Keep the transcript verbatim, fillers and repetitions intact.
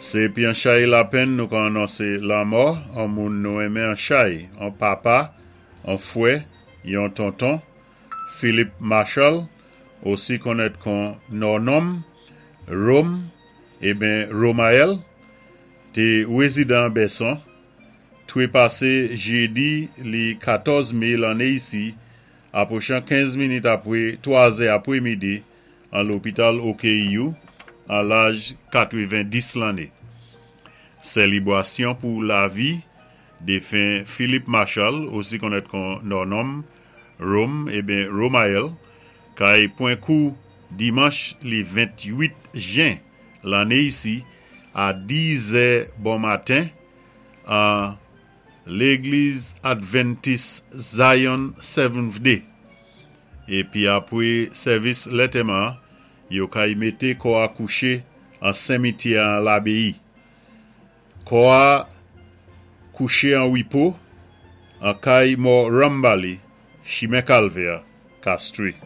Sé pi an chay lapenn nou ka anonsé lanmò an moun nou enmen an chay, an papa, an fwè, yon tonton, Philip Marshall, osi konnèt kon Nònòm, Rome, eben Romael, té wézidan Bèson, twépasé jédi li katòz mé lanné isi, apwochan kenz minit apwé twazè apwémidi an lopital O K U, an laj katwévendis lanné. Sélibrasyon pou lavi défen Philip Marshall, osi konnèt kon Nònòm, Rome, eben Romael, kay pwan kou dimanch li ventuit jen lanné isi a dizè bon maten an Légliz Adventis Zion Seventh Day. Épi apwé sèvis lantèman, yo kay mété kò a kouché an simityè an Labéyi. Kò a kouché an wépo an kay mò Rambali, chimen Kalvè, Castries.